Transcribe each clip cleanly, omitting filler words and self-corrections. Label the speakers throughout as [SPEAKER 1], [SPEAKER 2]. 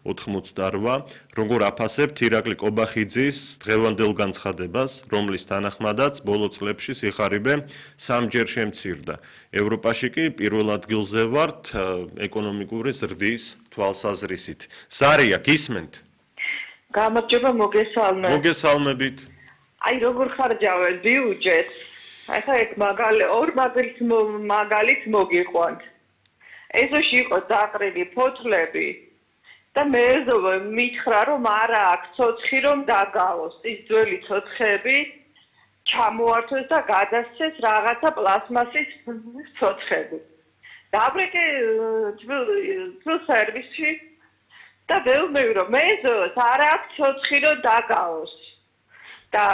[SPEAKER 1] 88. Როგორ აფასებთ ირაკლი კობახიძის დღევანდელ განცხადებას, რომლის თანახმადაც ბოლო წლებში სიხარიბე 3-ჯერ შემცირდა. ევროპაში კი პირველ ადგილზე ვართ ეკონომიკური ზრდის თვალსაზრისით. ზარია, გისმენთ?
[SPEAKER 2] გამარჯობა,
[SPEAKER 1] მოგესალმებით.
[SPEAKER 2] აი როგორ ხარჯავენ ბიუჯეტს? ახლა ეგ ორ მაგალითს მოგიყვანთ. ეზოში იყო დაყრილი ფოთლები და მეზობე მითხრა რომ არა აქვს ცოცხი რომ დაგავოს. ის ძველი ცოცხები ჩამოართვეს და გადასცეს რაღაცა პლასმასის ცოცხები. დაბრეკე ძველ სერვისში და ველმევი რომ მეზობს არა აქვს ცოცხი რომ დაგავოს. და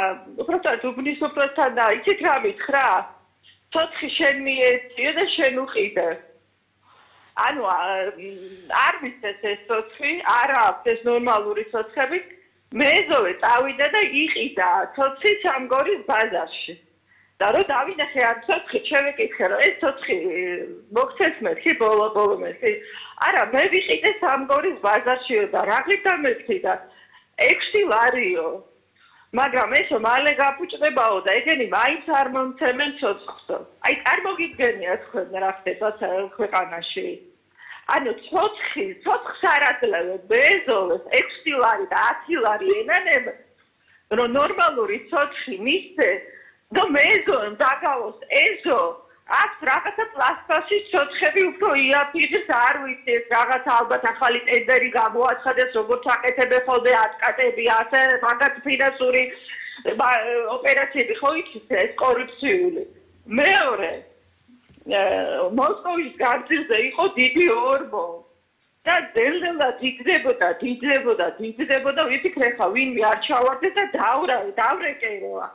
[SPEAKER 2] უბრალოდ უბნის უბრალოდ და იცით რა მითხრა? ცოცხი შენ მიეწიე და შენ უყიდე. ანუ არ მისცეს ეს ცოცხი, არა აქვს ეს ნორმალური ცოცხები. მეზობე წავიდა და იყიდა ცოცხი სამგორის ბაზარში. და რო დავინახე ამ ცოცხი, შევეკითხე რომ ეს ცოცხი მოგცეს მეთქი ბოლო მეთქი. არა, მე ვიყიდე სამგორის ბაზარშიო და რაღლით დამეთქიდა 6 ლარიო. მაგრამ ესო მალე გაფუჭდებაო და ეგენი მაინც არ მომცემენ ცოცხლსო. აი წარმოგიდგენია თქვენ რა ხდება ქვეყანაში. ანუ ცოცხს არ აძლევენ მეზობლებს 6 ლარი და 10 ლარი ენანენ რომ ნორმალური ცოცხი მისცე და მეზობლებს დაგავოს ეზო აქვს რაღაცა პლასტმასის ცოცხები უფრო იაფიდეს არ ვიცი ეს რაღაცა ალბათ ახალი ტენდერი გამოაცხადეს როგორც აკეთებენ ხოლმე ატკატები ასე მაგათ ფინანსური ოპერაციები ხო იცით ეს კორუფციული. მეორე მოსკოვის განძილზე იყო დიდი ორმო და დელდელად იგდებოდა ვიფიქრე ხა ვინმე არ ჩავარდეს და დავრეკეროა.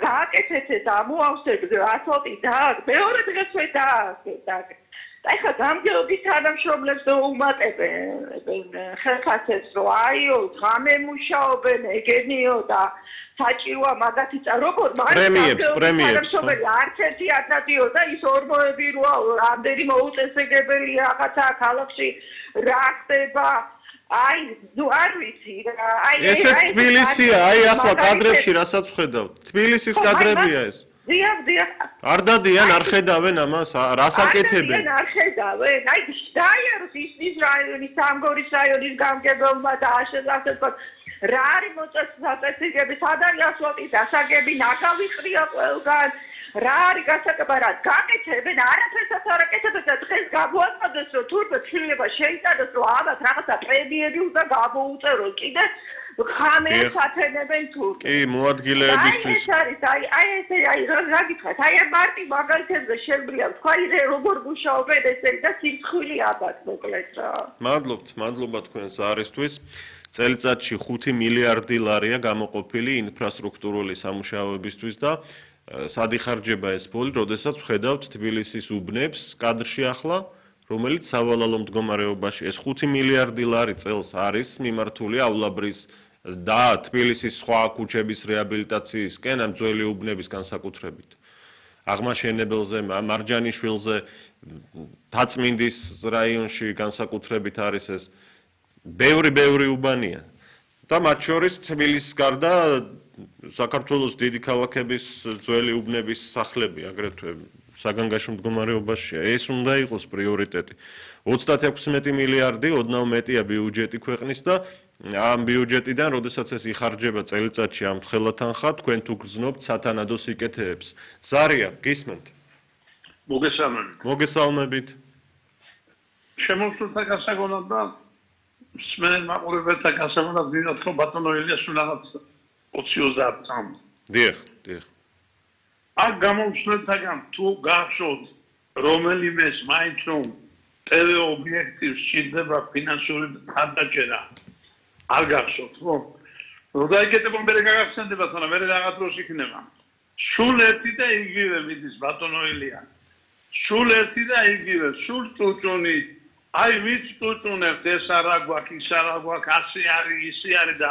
[SPEAKER 2] გააკეთეთ ეს ამოავსებდე ასфальტი და მეორე დღესვე დააკეთე. აი ხა გამგეობის თანამშრომლებს უმატებენ ხელფასებს რომ აიო ღამე მუშაობენ ეგენიო და საჭიროა მაგათი როგორ
[SPEAKER 1] პრემიებს
[SPEAKER 2] არც ერთი ადნადიო და ის ორმოები როა რამდენი მოუწესრიგებელი რაღაცა ქალაქში რა ხდება აი ნუ არ ვიცი აი
[SPEAKER 1] ესეც თბილისია აი ახლა კადრებში რასაც ვხედავთ თბილისის კადრებია ეს
[SPEAKER 2] დიახ
[SPEAKER 1] არ დადიან არ ხედავენ ამას რას აკეთებენ
[SPEAKER 2] არ ხედავენ აი დაიაროს ის რაიონის სამგორის რაიონის გამგებელმა და ასე რა არის მოწესრიგების სად არის ასფალტის დასაგები ნაგავი ყრია ყველგან რა არის გასაკეთებად გაკეთებენ არაფერსაც არ აკეთებენ და დღეს გამოაცხადეს რომ თურმე ცვლილება შეიტანოს რომ ამათ რაღაცა პრემიები უნდა გამოუწეროს კიდე ხამეებს ათენებენ თურმე
[SPEAKER 1] კი მოადგილეებისთვის
[SPEAKER 2] აი ესე რა გითხრათ აი მარტი მაგალითებზე შეგვიძლია თქვა როგორ მუშაობენ ესენი და სიმხილი აბათ მოკლედ რა
[SPEAKER 1] მადლობა თქვენს არისთვის წელიწადში 5 მილიარდი ლარია გამოყოფილი ინფრასტრუქტურული სამუშაოებისთვის და სად იხარჯება ეს ფული, როდესაც ვხედავთ თბილისის უბნებს კადრში ახლა, რომელიც სავალალო მდგომარეობაში ეს 5 მილიარდი ლარი წელს არის მიმართულიავლაბრის და თბილისის სხვა ქუჩების რეაბილიტაციისკენ ამ ძველი უბნების განსაკუთრებით. აღმაშენებელზე, მარჯანიშვილზე, დაწმინდის რაიონში განსაკუთრებით არის ეს ბევრი უბანია და მათ შორის თბილისის გარდა საქართველოს დიდი ქალაქების ძველი უბნების სახლები აგრეთვე საგანგაშო მდგომარეობაშია ეს უნდა იყოს პრიორიტეტი 36 მილიარდი ოდნავ მეტია ბიუჯეტი ქვეყნის და ამ ბიუჯეტიდან როდესაც ეს იხარჯება წელიწადში ამ ხელათანხა თქვენ თუ გრძნობთ სათანადო სიკეთეებს ზარია გისმენთ მოგესალმებით
[SPEAKER 3] შემოსულთა გასაგონად და სმენ მაყურებელთა გასაგონად ვინოთ რომ ბატონო ილიას რაღაც 20-30 წამს.
[SPEAKER 1] დიახ.
[SPEAKER 3] აქ გამომხსნელთაგან თუ გახსოვთ რომელიმეს მაინც რომ TV ობიექტივს სჭირდება ფინანსური ხარჯაჭერა არ გახსოვთ ხო? რომ დაიკეთებონ მე გაგახსენდება თორემ მე რაღაც დროს იქნება. სულ ერთი და იგივე მიდის ბატონო ილია. სულ ერთი და იგივე სულ წუწუნი აი ვიც წუწუნებს ეს არა გვაქვს ის არა გვაქვს ასე არის ისე არის და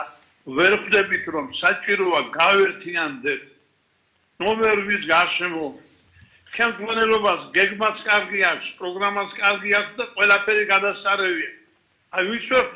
[SPEAKER 3] ვერ ხვდებით რომ საჭიროა გავერთიანდეთ ნომერების გარშემო ხელმძღვანელობას გეგმაც კარგი აქვს პროგრამაც კარგი აქვს და ყველაფერი გადასარევია აი ვიც ვერ